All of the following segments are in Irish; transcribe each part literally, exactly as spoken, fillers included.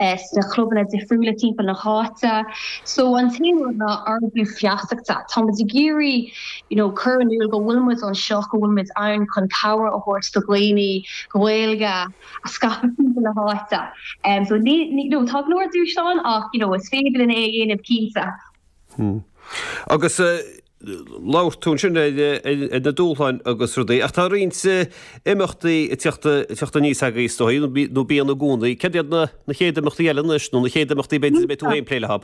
sna clubanna difriúla timpeall na háite. So an t-aon ná ardú feasachta. Tá muid ag iarraidh you know, cur in iúl go bhfuil muid anseo go bhfuil muid ann chun cabhair a thabhairt do dhaoine Gaeilge a scaipeadh timpeall na háite. Um, so ní, ní, no, tá go leor dúshlán ach you know, is féidir linn é a dhéanamh cinnte. Hmm. Agus uh, labhair tú ansin ar na dúshláin agus rudaí, ach tá roinnt imeachtaí teacht aníos agaibh is dóigh nó bíonn i gcónaí, Cad iad na na chéad imeachtaí eile anois nó na chéad imeachtaí b'fhéidir a mbeidh tú féin ag plé leo?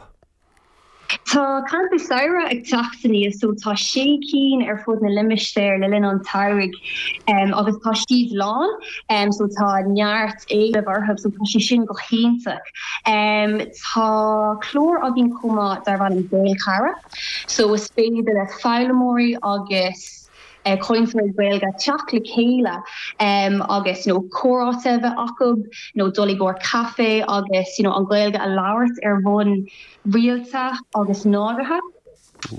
Tá campaí samhraidh ag teacht aníos so tá sé cinn ar fud na limistéir le linn an tsamhraidh um, agus tá siad lán um, so tá neart éileamh orthu so tá sé sin go hiontach. Um, tá clár againn chomh maith darb ainm Gaelchara, so is féidir le foghlaimeoirí agus uh, cainteoirí Gaeilge teacht le chéile um, agus nó comhráite a bheith acu nó dul i gcomhair caife agus you know, an Ghaeilge a labhairt ar bhonn rialta agus nádúrtha.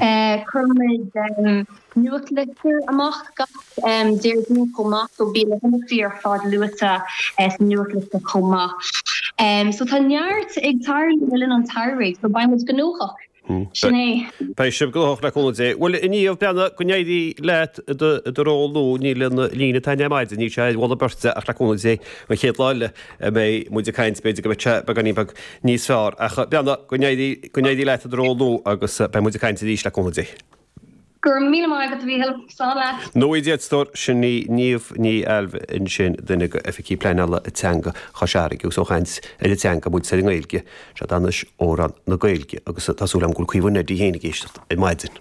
Uh, Cuirimid um, nuachtlitir amach gach um, Déardaoin chomh maith so bíonn na himeachtaí ar fad luaite uh, sa nuachtlitir chomh maith. Um, so tá neart ag tarlú le linn an tsamhraidh, so beidh muid gnóthach. Sin é. Beidh sibh gnóthach le cúnamh Dé. Bhuel a Niamh beanna go n-éirí leat i do ról nua níl an líne tá maidin ní sé bhla beirte ach le cúnamh Dé an chéad lá eile a mbeidh muid ag caint b'fhéidir go mbeidh sé beagáinín beag níos fearr ach beanna go n-éirí go n-éirí leat i do ról nua agus beidh muid ag caint arís le cúnamh Dé. Gur míle maith agat a Mhíchíl slán leat. Nó i dtéadóir sin í Niamh Ní Ailbhe ansin duine de oifigigh pleanála teanga Chois Fharraige agus ag caint ar an teanga muid ar an nGaeilge sé anois Amhrán na Gaeilge agus tá súil agam go bhfuil Caoimhe Neidí féin ag éisteacht ar maidin.